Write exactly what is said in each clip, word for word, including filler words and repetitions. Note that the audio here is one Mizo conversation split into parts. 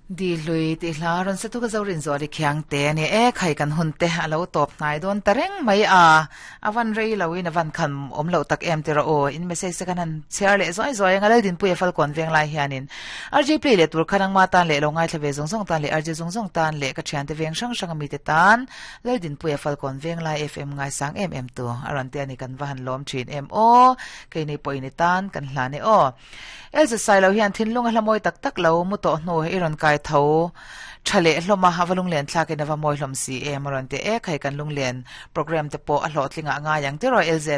Di lui ti hla ron se tu ka zorin zo ri khiang te ni e khai kan hun te alo top nai don tareng mai a avan rei lo in avan khan om lo tak em tira o in message kan han share le zoi zoi nga din pui fal kon veng lai hianin R J play le tur khanang ma tan le lo ngai thlave zong zong tan le R J zong zong tan le ka thian te veng sang sang mi te tan lal din pui fal kon veng lai F M ngai sang em em tu aron te ani kan va han lom thin em o ke ni poi ni tan kan hla ne o Elsa sai lo hian thin lunga hlamoi tak tak lo mu to hnu iron kai tho thale hloma hawalung len thlake na va moi hlom si e maron te e khai kan lunglen program te po a hlo tlinga nga yang te ro L Z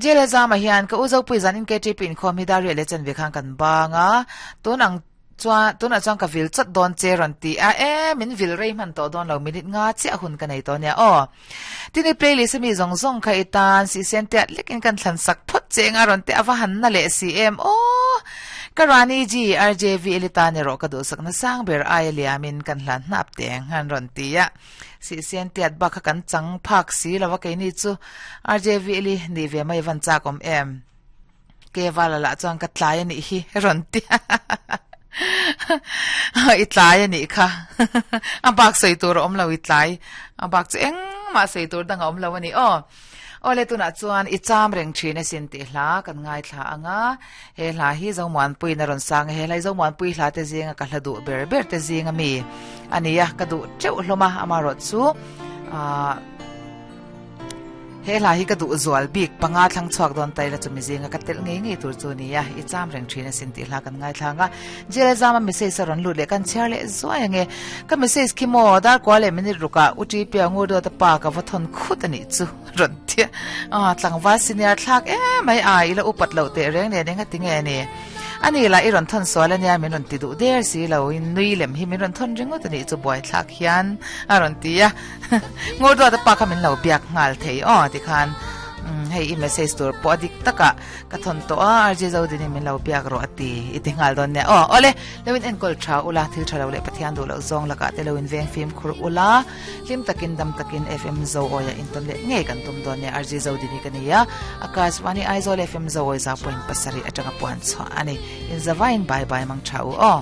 jela zama hian ka uzo pui zan in K T pin khom hi dari le chen ve khang kan banga tunang chua tuna chuan ka vil chat don che ron ti a e min vil rei man to don lo minute nga che hun ka nei to nia o tini playlist mi zong zong kha itan si sen te lekin kan thlan sak phot che nga ron te awa han na le si em o Karani G R J V elita ni ro ka du sak na sang ber ai liamin kan hlan nap teng han ron ti ya si sen tiat ba kha kan chang phak si lawa ke ni chu R J V eli ni ve mai van cha kom em ke wala la chuan ka tlai ani hi ron ti i tlai ani kha a bak sei tur om lo i tlai a bak chu eng ma sei tur dang om lo ani o ole tuna chuan i cham reng thina sin ti hla kan ngai thla anga he hla hi zo muan pui na ron sang he lai zo muan pui hla te zinga ka hla du ber ber te zinga mi ania ka du cheu hloma ama ro chu a he hla hi ka du zual bik panga thlang chuak don tai la chumi zinga ka tel ngei ngei tur chu nia i cham reng thina sin ti hla kan ngai thlanga jela zama message ron lu le kan chher le zoi ange ka message ki mo dar ko le minute ruka uti pe angur do ta pa ka vathon khut ani chu ron thia a tlangwa senior thlak e mai a ila upat lo te reng ne nenga tinge ni ani la iron thon sola nia min ron ti du der si lo in nui lem hi min ron thon ringot ani chu boy thlak hian aron tia ngor do ta pa ka min lo biak ngal thei o ti khan hei i message tur po adik taka ka thon to a R J zo dini min lo biak ro ati iti ngal don ne o ole lewin en kol tha ula thil tha lo le pathian du lo zong laka te lewin veng film khur ula lim takin dam takin F M zo oya inton le nge kan tum don ne R J zo dini kania Akashvani Aizawl F M zo oi za point pasari atanga puan chho ani in zawain bye bye mang thau o.